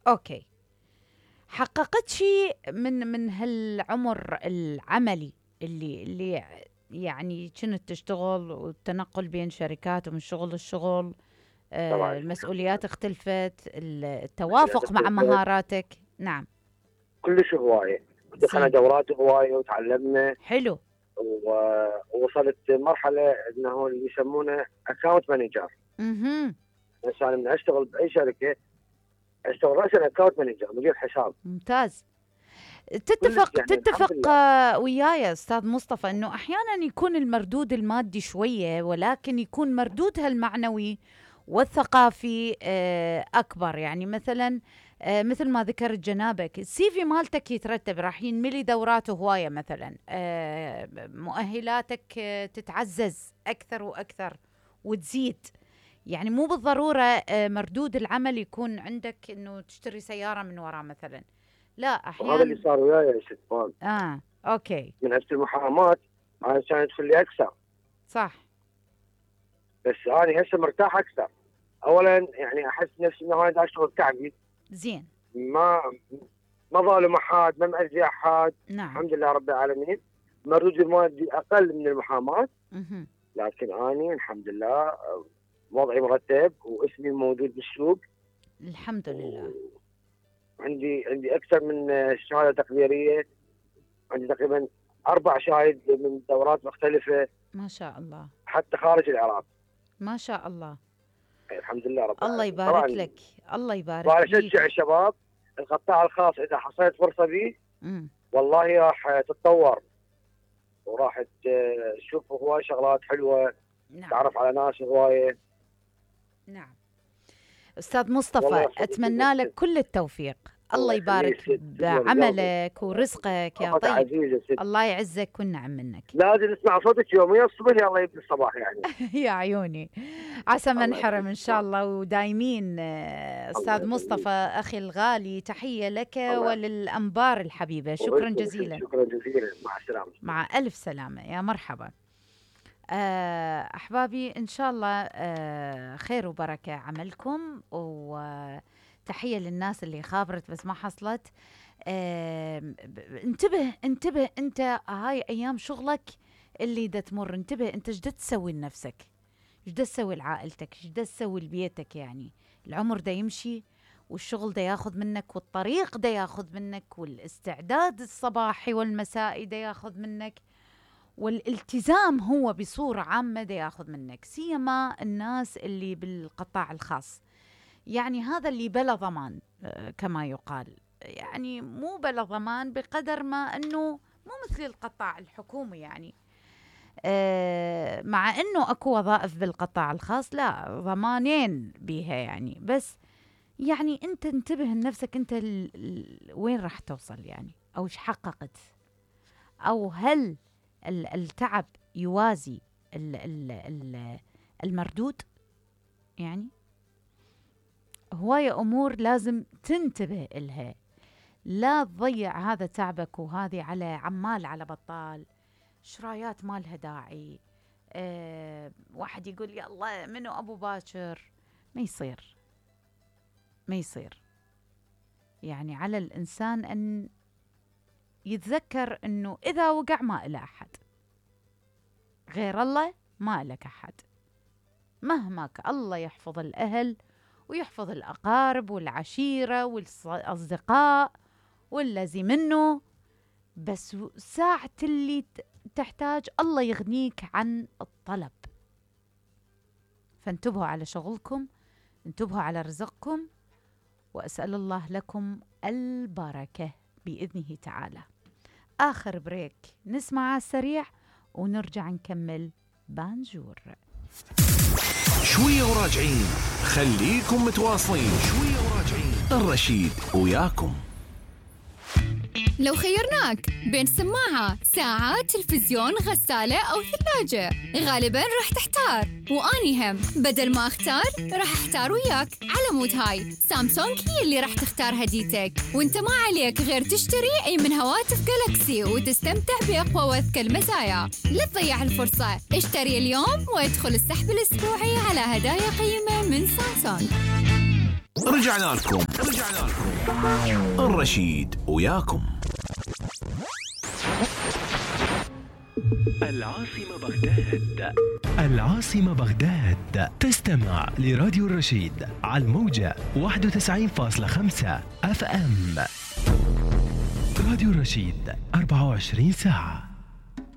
اوكي، حققت شيء من هالعمر العملي اللي يعني كنت تشتغل والتنقل بين شركات ومن شغل للشغل، طبعا المسؤوليات اختلفت، التوافق مع مهاراتك. نعم. كلش هوايه، دخلنا زين. دورات هوايه وتعلمنا، حلو. ووصلت مرحله انه اللي يسمونه اكونت مانجر. بس انا من اشتغل باي شركه اشتغل راسا اكونت مانجر، مدير حساب. ممتاز. تتفق يعني تتفق وياي استاذ مصطفى انه احيانا يكون المردود المادي شويه، ولكن يكون مردودها المعنوي والثقافي اكبر. يعني مثلا مثل ما ذكرت جنابك، السي في مالتك يترتب، راح ينملي دورات هوايه مثلا، مؤهلاتك تتعزز اكثر واكثر وتزيد. يعني مو بالضروره مردود العمل يكون عندك انه تشتري سياره من وراه مثلا، لا احيانا. وهذا اللي صار وياي يا ست فان. اوكي. من هسه المحاماه انا كان يدخل لي اكثر. صح. بس انا هسه مرتاح اكثر. اولا يعني احس نفسي انه انا اشتغل تعبي. زين. ما ظالم احد، ما مأذي احد. نعم. الحمد لله رب العالمين. مردودي المادي اقل من المحاماه، لكن اني الحمد لله وضعي مرتب واسمي موجود بالسوق. الحمد لله. عندي اكثر من شهاده تقديريه، عندي تقريبا 4 شهايد من دورات مختلفه. ما شاء الله. حتى خارج العراق. ما شاء الله. الحمد لله رب العالمين. الله يبارك لك، الله يبارك وانا لك. اشجع الشباب القطاع الخاص اذا حصلت فرصه به والله راح تتطور وراح تشوف هواي شغلات حلوه. نعم. تعرف على ناس هوايه. نعم. استاذ مصطفى اتمنى لك كل التوفيق، الله يبارك بعملك ورزقك يا طيب. الله يعزك والنعم منك. لازم نسمع صوتك يوميا الصبح يا الله يبدي الصباح يعني. يا عيوني، عسى ما نحرم ان شاء الله. ودايمين استاذ مصطفى اخي الغالي، تحيه لك وللانبار الحبيبه. شكرا جزيلا. شكرا جزيلا. مع السلامه. مع الف سلامه. يا مرحبا. أحبابي إن شاء الله خير وبركة عملكم، وتحية للناس اللي خابرت بس ما حصلت. انتبه أنت، هاي أيام شغلك اللي دا تمر، انتبه أنت ايش دا تسوي لنفسك، ايش دا تسوي لعائلتك، ايش دا تسوي لبيتك. يعني العمر دا يمشي والشغل دا ياخذ منك والطريق دا ياخذ منك والاستعداد الصباحي والمسائي دا ياخذ منك والالتزام هو بصورة عامة دا ياخذ منك، سيما الناس اللي بالقطاع الخاص. يعني هذا اللي بلا ضمان كما يقال، يعني مو بلا ضمان بقدر ما أنه مو مثل القطاع الحكومي. يعني مع أنه أكو وظائف بالقطاع الخاص لا ضمانين بيها يعني، بس يعني أنت انتبه لنفسك، أنت وين راح توصل يعني، أو ايش حققت، أو هل التعب يوازي المردود. يعني هواية أمور لازم تنتبه إلها، لا تضيع هذا تعبك وهذه على عمال على بطال، شرايات ما لها داعي. واحد يقول يا الله منو أبو باكر، ما يصير. يعني على الإنسان أن يتذكر أنه إذا وقع ما إله أحد غير الله، ما لك أحد مهما الله يحفظ الأهل ويحفظ الأقارب والعشيرة والأصدقاء والذي منه، بس ساعة اللي تحتاج الله يغنيك عن الطلب. فانتبهوا على شغلكم، انتبهوا على رزقكم، وأسأل الله لكم البركة بإذنه تعالى. آخر بريك نسمع على السريع ونرجع نكمل بانجور. شوية وراجعين، خليكم متواصلين. شوية وراجعين، الرشيد وياكم. لو خيرناك بين سماعة، ساعة، تلفزيون، غسالة أو ثلاجة، غالباً راح تحتار، وأني هم بدل ما أختار راح أحتار وياك. على مود هاي سامسونج هي اللي راح تختار هديتك، وانت ما عليك غير تشتري أي من هواتف جالاكسي وتستمتع بأقوى وأذكى المزايا. لا تضيع الفرصة، اشتري اليوم وادخل السحب الأسبوعي على هدايا قيمة من سامسونج. رجعنا لكم الرشيد وياكم. العاصمة بغداد تستمع لراديو الرشيد على الموجة 91.5 FM. راديو الرشيد 24 ساعة.